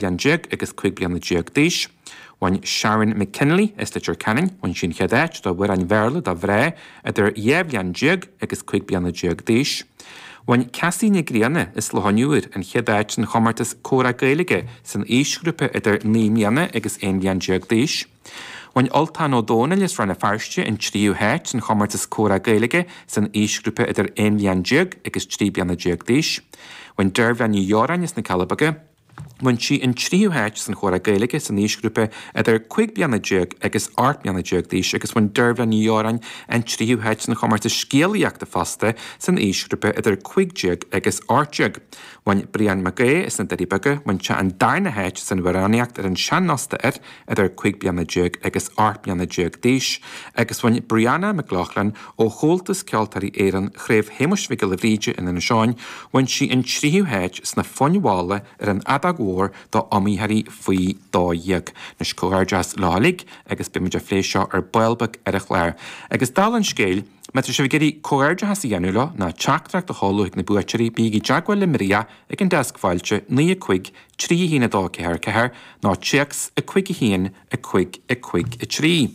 Bhliain déag agus 15 bliana d'aois. Bhain Sharon McKinley as Leitir Ceanainn, bhain sí an chéad áit do amhráin Bhéarla do mhná idir 12 bhliain agus 15 bliana d'aois. Bhain Cassie Nic Grianna as Loch an Iúir an chéad áit san chomórtas Comhrá Gaeilge san aoisghrúpa idir 9 mbliana agus 11 bhliain d'aois. Bhain Ultán Ó Dónaill as Rann na Feirste an tríú háit san chomórtas Comhrá Gaeilge san aoisghrúpa idir 11 bhliain agus 13 bliana d'aois. Bhain Deirbhile Ní Dheoráin as na Cealla Beaga, Bhain sí an tríú háit san Chomhrá Gaeilge san aoisghrúpa idir 15 bliana agus 18 mbliana d'aois agus bhain Deirbhile Ní Dheoráin an tríú háit san chomórtas scéalaíochta fosta san aoisghrúpa idir 15 agus 18. Bhain Brian Mac Aodha as na Doirí Beaga, bhain sé an darna háit san amhránaíocht ar an sean-nós d'fhir idir 15 bliana agus 18 mbliana d'aois agus bhain Brianna McLaughlin ó Chomhaltas Ceoltóirí Éireann, Craobh Shéamuis Mhic Giolla Bhríde in Inis Eoghain, bhain sí an tríú háit sna foinn mhalla ar an fheadóg mhór d'iomaitheoirí faoi 12. Anois comhghairdeas leo uilig agus beidh muid ag plé seo ar ball beag ar an chlár. Agus dála an scéil, má tá sibh ag iarraidh comhghairdeachas a dhéanamh leo ná teachtaireacht a sheoladh chuig na buaiteoirí, bígí i dteagmháil le Maria ag an deasc fáilte, 9 5 3 1 2 4 4 nó téacs 5 1 5 5 3.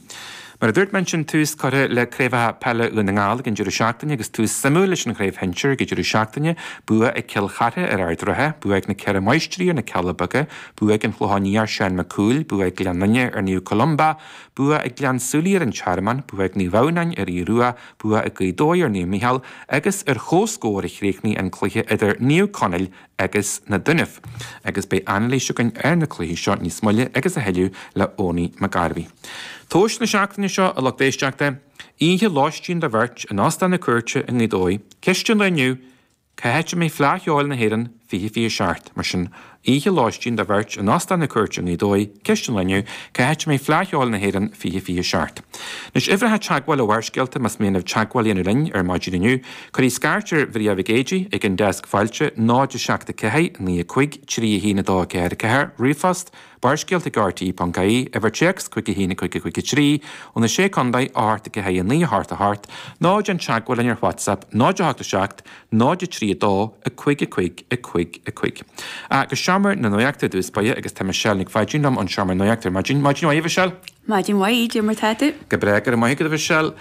Mar a dúirt mé ansin, tús curtha le Craobhacha Peile Dhún na nGall ag an deireadh seachtaine agus tús suimiúil leis an chraobh shinsir ag an deireadh seachtaine, bua ag Cill Chartha ar Ard an Rátha, bua ag na Ceithre Máistrí ar na Cealla Beaga, bua ag an Chlochán Liath ar Seán Mac Cumhaill, bua ag Gleann Fhinne ar Naomh Columba, bua ag Gleann tSúilí ar an Tearmann, bua ag Naomh Adhamhnáin ar Aodh Rua, bua ag Gaoth Dobhair ar Naomh Micheál agus ar chomhscór a chríochnaigh an cluiche idir Naomh Conaill agus na Dúnaibh, agus beidh anailís againn ar na cluichí seo níos moille agus a thuilleadh le Owenie McGarvey. Tomhas na seachtaine seo, a lucht éisteachta, oíche lóistín do bheirt in Óstán na Cúirte i nGaoth Dobhair. Ceist an lae inniu, cá háit a mbeidh Fleadh Cheoil na hÉireann 2027? Mar sin, oíche lóistín do bheirt in Óstán na Cúirte i nGaoth Dobhair, ceist an lae inniu, cá háit a mbeidh Fleadh Cheoil na hÉireann 2027? Anois, uimhreacha teagmháil ó Bharrscéalta más mian libh teagmháil a dhéanamh linn ar maidin inniu. Cuirí scairt ar Mharia Mhic Éadaigh ag an deasc fáilte, 0 7 4 9 5 3 1 2 4 4, ríomhphost, barrscéalta ag rte.ie, uimhir téacs 5 1 5 5 3, ó na Sé Contae, 8 4 9 8 8, nó déan teagmháil linn ar WhatsApp, 0 8 7 0 3 2 5 5 5 5. Go seomra na nuachta i dtús báire agus tá Michelle Nic Pháidín liom ón seomra nuachta ar maidin. Maidin mhaith, a Mhichelle. Maidin mhaith, cad é mar tá tú? Go breá, go raibh maith agat a Mhichelle.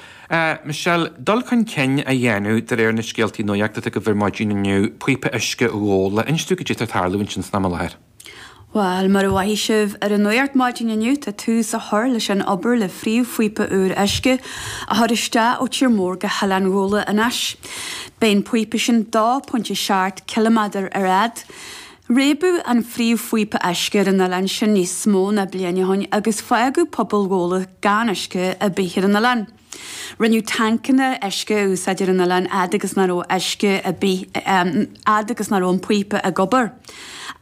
Michelle, dul chun cinn á dhéanamh de réir na scéaltaí nuachta atá agaibh ar maidin inniu, píopa uisce Ghabhla. Inis dúinn cad é atá ag tarlú ansin san am i láthair. Bhuel, mar a mhothaigh sibh ar an nuacht maidin inniu, tá tús á chur leis an obair le phríomhphíopa úr uisce a chur isteach ó Tír Mór go hOileán Ghabhla anois. Beidh an píopa sin 2.7 ciliméadar ar fhad. Réabadh an phríomhphíopa uisce ar an oileán sin níos mó ná bliain ó shin agus fágadh pobal Ghabhla gan uisce ar bith ar an oileán. Rinneadh tancanna uisce a úsáid ar an oileán fhad agus nach raibh uisce ar bith fhad agus nach raibh an píopa ag obair.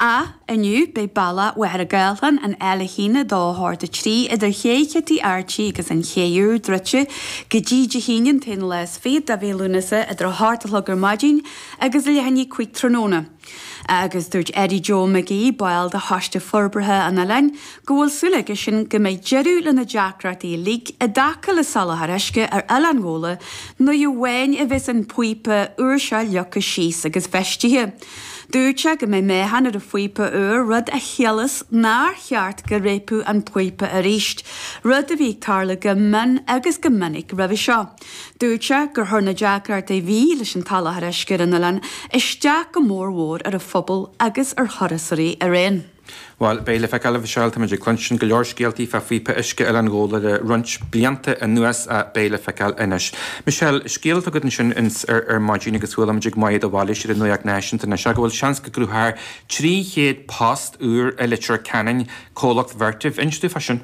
Ach inniu beidh bealach Mhachaire Gathlán, an L1 2 8 3, idir Ché Chití Archie agus an Ché Úr druidte go dtí Dé hAoine an t-aon lá is fichead de mhí Lúnasa idir 8 a chlog ar maidin agus leath i ndiaidh 5 tráthnóna. Agus dúirt Eddie Joe McGee, ball de Choiste Forbartha an Oileáin, go bhfuil súil aigesean go mbeidh deireadh le na deacrachtaí uilig i dtaca le soláthar uisce ar Oileán Ghabhla nuair amháin a bheas an píopa úr seo leagtha síos agus feistithe. Dúirt sé go mbeidh meáchan ar an phíopa úr, rud a chiallas nár cheart go réabfadh an píopa arís, rud a bhí ag tarlú go mion agus go minic roimhe seo. Dúirt sé gur chuir na deacrachtaí a bhí leis an tsoláthar uisce ar an oileán isteach go mór mhór ar an phobal agus ar thurasóirí araon. Bhuel, beidh le feiceáil, a Mhichelle, táimid ag cluinstin go leor scéaltaí fá phíopa uisce Oileán Ghabhla le roinnt blianta anuas ach beidh le feiceáil anois. Michelle, scéal atá agat ansin ar ar maidin agus chuala muid ag Moya de Bhailís ar an Nuacht Náisiúnta anois go bhfuil seans go gcruthófar 300 post úr i Leitir Ceanainn, comhlacht Vertiv. Inis dúinn fá sin.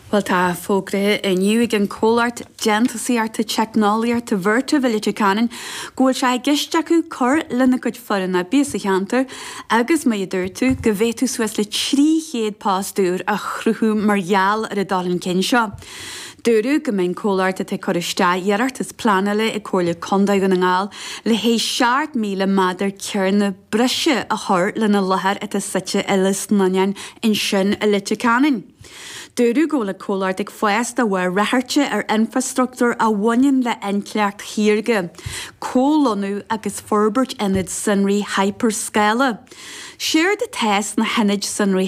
Bhuel, tá fógraithe inniu ag an comhlacht déantúsaíochta teicneolaíochta Vertiv i Leitir Ceanainn go bhfuil sé i gceist acu cur lena gcuid foireann oibre sa cheantar agus, mar a dúirt tú, go bhféadfadh suas le 300 post úr a chruthú mar gheall ar an dul chun cinn seo. Dúradh go mbeidh an comhlacht atá ag cur isteach iarratas pleanála ag Comhairle Contae Dhún na nGall le haghaidh 7,000 méadar cearnach breise a chur lena láthair atá suite i Lios na ansin i Leitir Ceanainn. Dúradh go bhfuil an comhlacht ag fás de bharr ráchairte ar infreastruchtúr a bhaineann le intleacht shaorga, comhlonnú agus forbairt ionad sonraí hyperscála. Séard atá sna hionaid sonraí.